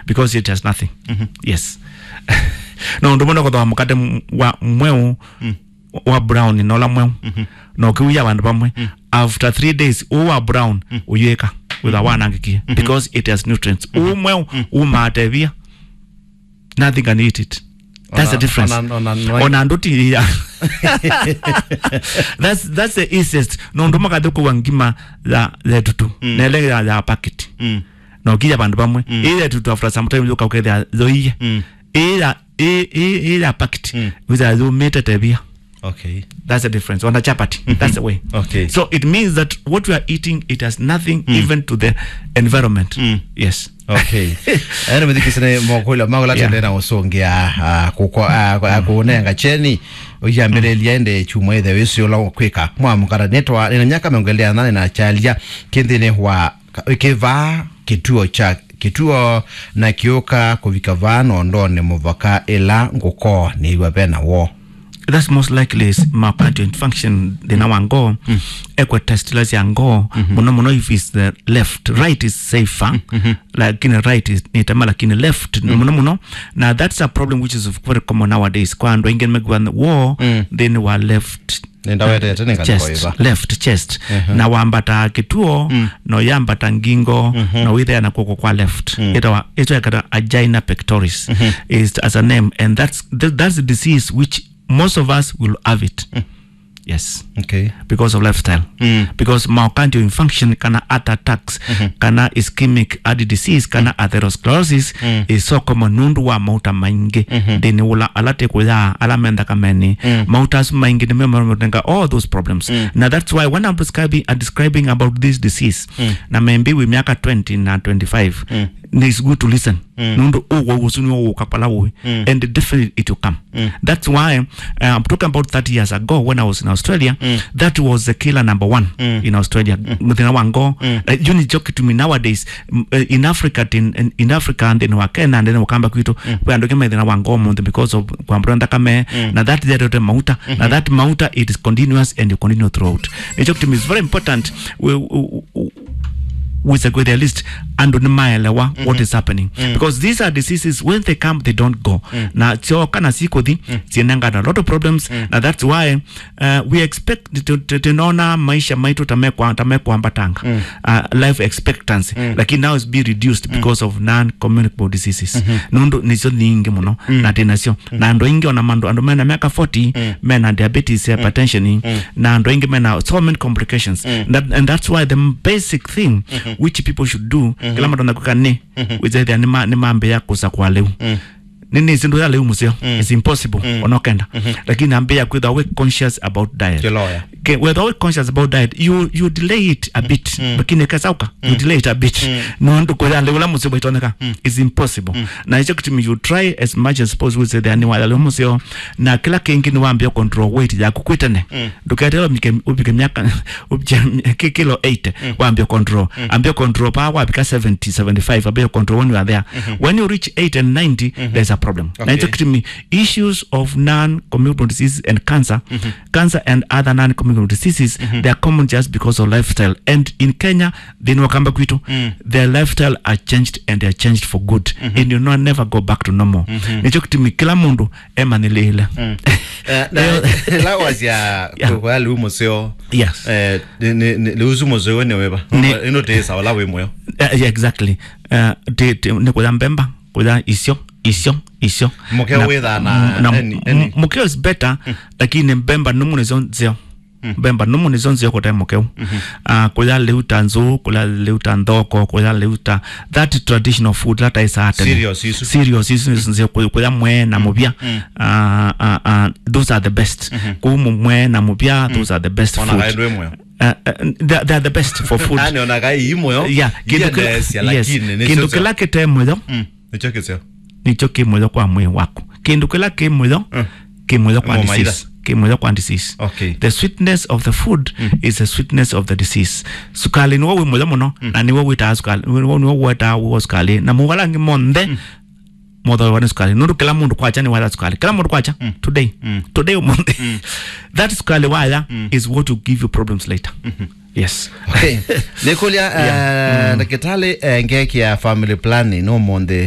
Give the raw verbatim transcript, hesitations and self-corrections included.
because it has nothing. Yes. No ũndũ mũno kũthoa mũkate m- wa mweu, wa brown na ũla mweu. Na ũkĩuya vandũ vamwe, after three days, ũũ wa brown ũyĩka wĩtha wanangĩkie, because it has nutrients. Ũũ mweu umaa tevia. Nothing can eat it. That's the difference. Ona, ona, ona, ona ndũti ya. That's, that's the easiest. No ũndũ makathi kũwa ngima ya, ya tutu. Nele ya, ya packet. Na ũkĩya vandũ vamwe. Ĩya tutu after some time yũka ũkethĩa yoiye. Ĩya, ĩ, ĩ, ĩya packet. Wĩtha yũmĩte tevia. Okay. That's the difference. On the chapati. That's the way. Okay. So it means that what we are eating, it has nothing even to the environment. Yes. Okay. Ene mithikisine mokula magola Yeah. tendena usongia ah, kuko ah, ku- ah, kunenga cheni uyambelelia ende chuma ithe wisi ula kwika mwa mukara netwa nina nyaka miongelea nane na chalia kindhini wa ka- kivaa kituo cha kituo na kiuka kuvika vaa nondone muvaka ila nguko niiwa vena wo. That's most likely is myocardial infarction, thĩna wa ngoo. Ekwe test ila sya ngoo, mũno mũno if it's the left. Right is safer, lakini right is nitema, lakini left mũno mũno. Na that's a problem which is very common nowadays. Kwa andũ aingĩ mekuwa wo, thĩnĩ wa left Nĩndawetete nĩ ngalĩko chest, ĩva. Left chest. Na wambata kĩtuo, no yambata ngingo, no wĩthea na kuoko kwa left. Ĩtawa, ĩtawa angina pectoris is as a name, and that's, th- that's the disease which most of us will have it. Yes. Okay. Because of lifestyle. Because myocardial infarction kana heart attacks, kana ischemic heart disease, kana atherosclerosis is so common nũndũ wa mauta maingĩ. Thĩnĩ ũla ala tĩ kũya, ala me nthakamenĩ. Mauta asu maingĩ nĩmo marenga all those problems. Na that's why when I'm prescribing, uh, describing about this disease, na maybe wĩ myaka twenty na twenty-five, it's good to listen. Nũndũ ũwau ũsu nĩwo ũka pala ũĩ. And definitely it will come. That's why, uh, I'm talking about thirty years ago when I was in Australia, that was the killer number one in Australia. Mũthĩna wa ngoo. Uh, yu nĩkyo kĩtumi nowadays, m- uh, in Africa, in, in, in Africa, nthĩnĩ wa Kenya, nthĩnĩ wa kamba kwitũ, we andũ aingĩ me thĩna wa ngoo mũnthĩ because of kwambũra nthakame, na that thereote mauta, na that mauta, it is continuous and you continue throughout. Nĩkyo kĩtumi is very important. We, we, we, wĩse kwĩthĩa at least andũ nĩmaelewa what is happening, because these are diseases, when they come, they don't go. Na syoka na sikuthi, sinengana a lot of problems. Na that's why, uh, we expect to, to, to, tunaona maisha maitũ ta mekwa- ta mekwambatanga, uh, life expectancy, lakini now is be reduced because of non-communicable diseases. Nũndũ nĩsyo nyingĩ mũno na tĩ nasyo. Na andũ aingĩ ona mandũ, andũ mena myaka forty, mena diabetes, hypertension, na andũ aingĩ mena so many complications. That, and that's why the basic thing which people should do, kĩla matonya kwĩka nĩ, wĩthethia nĩma- nĩmambĩĩa kũsakũa lĩu. Nĩ nĩ sindu ya lĩu mũseo. It's impossible. Ona ũkenda. Lakini ambĩĩa kwĩthwa we conscious about diet. Kĩloya. Ke- whether we conscious about diet, you, you delay it a bit. Lakini kesauka, you delay it a bit. Nũndũ kũya lĩu la mũseo ĩtoneka. It's impossible. Na ĩkyo kĩtumi you try as much as possible, say thani wa lĩu mũseo. Na kĩla kĩngĩ nĩ wambĩĩa control weight yaku kwĩ tene. Ndũketele ũmike- ũvike myaka, ũvike ki- kilo eighty, wambĩĩa control. Ambĩĩa control pa wavika seventy, seventy-five, ambĩĩa control when you are there. When you reach eighty and ninety, there's a problem. Na Okay. Ĩkyo kĩtumi issues of non-communicable diseases and cancer, cancer and other non-communicable diseases, they are common just because of lifestyle. And in Kenya, thĩnĩ wa kamba kwitũ, their lifestyle are changed and they are changed for good. And you know, never go back to normal. Nĩkyo kĩtumi kĩla mũndũ emanyĩlĩĩle. Eh, na ĩla wasya Yeah. Kũya lĩu mũseo. Yes. Eh, nĩ- nĩ- nĩ- lĩu ũsu mũseo nĩ wĩva? Nĩ- ĩno tĩĩsa ũla wĩ mũyo. Eh, yeah, exactly. Eh, ti- ti- nĩ kũya mbemba, kũya isyo, isyo, isyo. Mũkeo Na- wĩthaa na na any- m- any- mũkeo is better, lakini mbemba nũmu nĩsyo nzeo. Mbemba nũmu nĩsyo nzeo kũte mũkeo. Ah, kũya lĩu ta nzũũ, kũya lĩu ta nthoko, kũya lĩu ta that traditional food, that is certain. Cereals isu. Cereals isu nĩsyo nzeo, kũ- kũya mwee na mũvya. Ah, ah, ah, those are the best. Kũu mũ- mwee na mũvya, those are the best Ona food. Kaĩ ndwĩ mũyo. Uh, uh, they, they are the best for food. Ani ona kai imo yo. Yeah, kindu kila- Iendeesya, yes. Lakini nĩ Kindu sio kila kite muyo, nĩkyo kĩseo. Nĩkyo kĩ muyo kwa mwĩĩ waku. Kindu kila kĩ muyo, kĩ muyo kwa Mo maitha. Disease. Kĩ muyo kwa disease. Okay. The sweetness of the food is the sweetness of the disease. Sukali nĩwo wĩ muyo mũno, na nĩwo wĩtaa sukali, nĩwo, nĩwo wĩtaa wĩ sukali. Na mawala angĩ monthe, mothoewa nĩ sukali. Nũndũ kĩla mũndũ kwakya nĩ wala sukali. Kĩla mũndũ kwakya, today. Today ũmũnthĩ. That sukali waya is what will give you problems later. Yes. Okay. Nĩkũlya, Yeah. Eh, ndakĩtalĩ, eh, ngekĩa family planning ũmũnthĩ.